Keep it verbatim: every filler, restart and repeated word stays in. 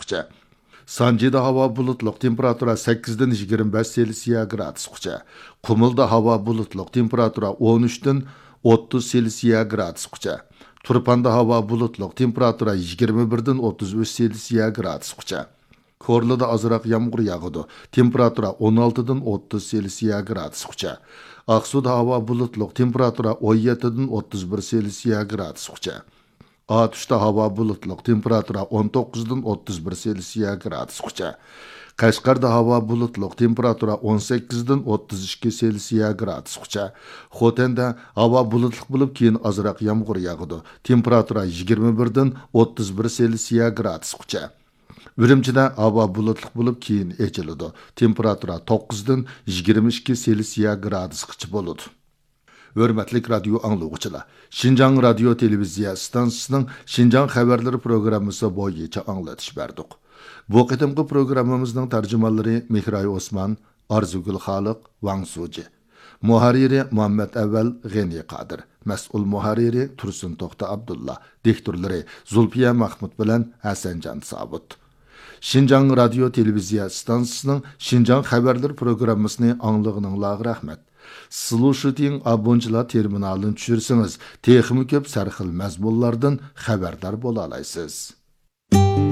گرادۇسقىچە. سانجىدا ھاۋا بۇلۇتلۇق، تېمپېراتۇرا سەككىزدىن يىگىرمە بەش سېلسىيە گرادۇسقىچە. قۇمۇلدا ھاۋا بۇلۇتلۇق، تېمپېراتۇرا ئون ئۈچتىن ئوتتۇز سېلسىيە گرادۇسقىچە. تۇرپاندا ھاۋا بۇلۇتلۇق، تېمپېراتۇرا يىگىرمە بىردىن ئوتتۇز ئۈچ سېلسىيە گرادۇسقىچە. كورلىدا ئازراق يامغۇر ياغىدۇ، تېمپېراتۇرا ئون ئالتىدىن ئوتتۇز سېلسىيە گرادۇسقىچە. ئاقسۇدا ھاۋا بۇلۇتلۇق، تېمپېراتۇرا ئون يەتتىدىن ئوتتۇز بىر سېلسىيە گرادۇسقىچە. ئاتۇشتا ھاۋا بۇلۇتلۇق، تېمپېراتۇرا ئون توققۇزدىن ئوتتۇز بىر سېلسىيە گرادۇسقىچە. قەشقەردە ھاۋا بۇلۇتلۇق، تېمپېراتۇرا ئون سەككىزدىن ئوتتۇز ئىككى سېلسىيە گرادۇسقىچە. خوتەندە ھاۋا بۇلۇتلۇق بولۇپ، كېيىن ئازراق يامغۇر ياغىدۇ، تېمپېراتۇرا يىگىرمە بىردىن ئوتتۇز بىر سېلسىيە گرادۇسقىچە. ئۈرۈمچىدە ھاۋا بۇلۇتلۇق بولۇپ، كېيىن ئېچىلىدۇ، تېمپېراتۇرا توققۇزدىن يىگىرمە ئىككى سېلسىيە گرادۇسقىچە بولىدۇ. ھۆرمەتلىك رادىيو ئاڭلىغۇچىلار، شىنجاڭ رادىيو تېلېۋىزىيە ئىستانسىسىنىڭ شىنجاڭ خەۋەرلىرى پروگراممىسى بويىچە ئاڭلىتىش بەردۇق. بۇ قېتىمقى پروگراممىمىزنىڭ تەرجىمانلىرى مېھراي ئوسمان، ئارزۇگۈل خالىق، ۋاڭ سۇجى. مۇھەررىرى مۇھەممەت ئەۋەل، غېنى قادىر. مەسئۇل مۇھەررىرى تۇرسۇن توختى ئابدۇللا. دىكتورلىرى زۇلپىيە مەخمۇت بىلەن ھەسەنجان سابىت. شىنجاڭ رادىيو تېلېۋىزىيە ئىستانسىسىنىڭ شىنجاڭ خەۋەرلىرى پروگراممىسىنى ئاڭلىغىنىڭلارغا رەھمەت. سلۇشىتىڭ ئابونچىلار تېرمىنالىنى چۈشۈرسىڭىز، تېخىمۇ كۆپ سەرخىل مەزمۇنلاردىن خەۋەردار بولالايسىز.